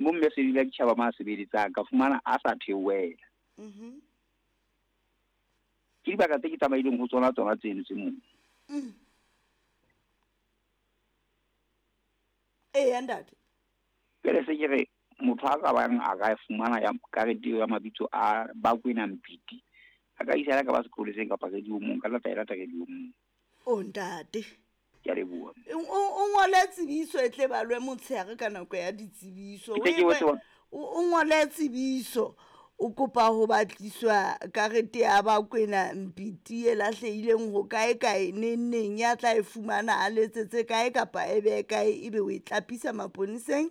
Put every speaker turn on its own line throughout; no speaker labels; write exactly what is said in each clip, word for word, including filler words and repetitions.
Mo mme se dila ditjhaba ma sebeletsang ka fumana a sa theohela.
Mhm.
Ke dibaka tse ke tsamaileng ho tsona tsona tseno tse moo.
Mm. Eya ntate.
Jwale se ke re motho a ka bang a ka fumana ya karete eo ya mabitso a Bakwena Mpiti, a ka isa ka ba sepoleseng kapa radio-mong, ka tla e lata radio-mong.
O ntate.
Ke a leboha.
O o ngole tsebiso e tle balwe motshehare ka nako ya ditsebiso.
Ke tle ke botse hore-
O o ngole tsebiso o kopa ho batliswa karete ya Bakwena Mpiti e lahlehileng ho kae kae neng neng, ya tla e fumana a letsetse kae kapa e behe kae, ebe o e tlapisa maponeseng,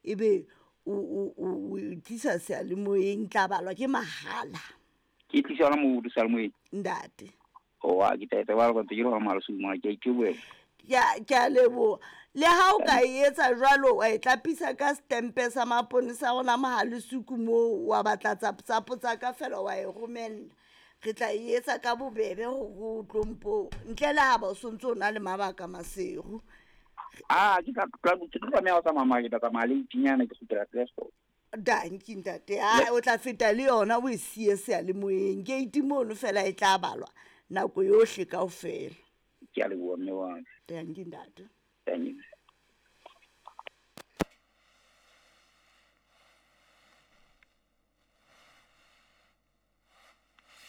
ebe o o o e tlisa seyalemoyeng, tla balwa ke mahala.
Ke tlisa hona moo seyalemoyeng?
Ntate.
Oa, ke tla etsa jwalo ka ntse ke le hona Malesung mona, ke a itebohela.
Ke a ke a leboha. Le ha o ka e etsa jwalo, wa e tlapisa ka setempe sa maponesa rona Mohalesuku moo, wa batla tsapo tsa ka fela wa e romella. Re tla e etsa ka bobebe hore o tlo mpo ntle le ha ba o sontso o na le mabaka Maseru.
Ah, ke tla ke tlo tlameha ho tsamaya mara ke tla tsamaya late-nyana, ke kgutlela Klerksdorp.
Danki ntate. Ah, o tla feta le yona o e siye seyalemoyeng. Gate mono fela e tla balwa nako yohle kaofela.
Ke a leboha mme wa ka.
Danki ntate.
Danki.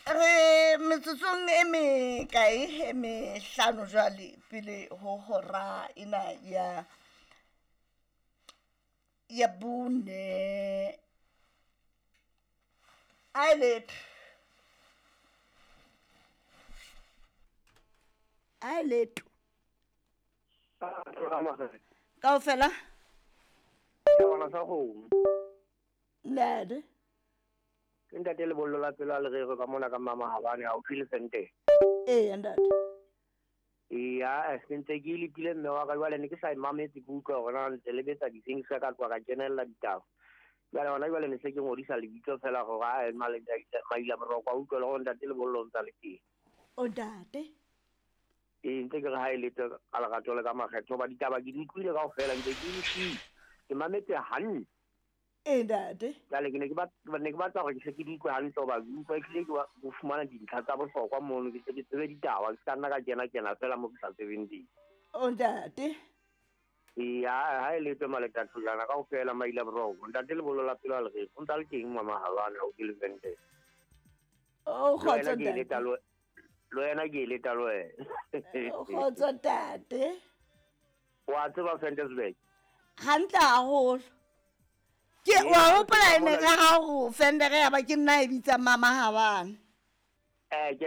Re metsotsong e mekae e mehlano jwale pele ho hora ena ya ya bone. A e letho. A e letho. Kaofela? Ntate.
Ke ntate Lebollo la pelo a lerero ka mona ka mama Habane haufi le Sente.
Eya ntate.
Eya, ke ntse ke lepile mme wa ka jwale ne ke sa e mametse ke utlwa hore na ntse le betsa di-things ka tloha ka kenella ditaba. Jwale hona jwale ne se ke ngodisa lebitso fela hore a maila boroko a utlwe le hore ntate Lebollo o ntsa le teng.
O ntate.
Ee, ntse ke re ha e letho ka lerato le ka makgetho hoba ditaba ke di utlwile kaofela, ntse ke utlwile. Ke mametse hantle.
Ee ntate.
Jwale ke ne ke batla ne ke batla hore ke se ke di utlwe hantle hoba ke utlwa ehlile ke ho fumana dintlha tsa bohlokwa mono, ke se ke tsebe ditaba, ke ska nna ka kena kena fela mo ke sa tsebeng teng.
O ntate.
Ee, ha e letho maleka thojana kaofela maila boroko. Ntate Lebollo la pelo a lereko, o ntsa le teng mama Habane haufi le Sente.
O kgotso
Le wena ke
ntate.
leta le le wena ke leta le wena.
O kgotso ntate.
Wa tseba Ventersburg?
Hantle haholo. Ke wa hopola e ne re ha ho Fendere ya ba ke nna e bitsang mama Habane.
Eh, ke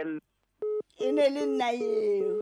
E ne le nna eo.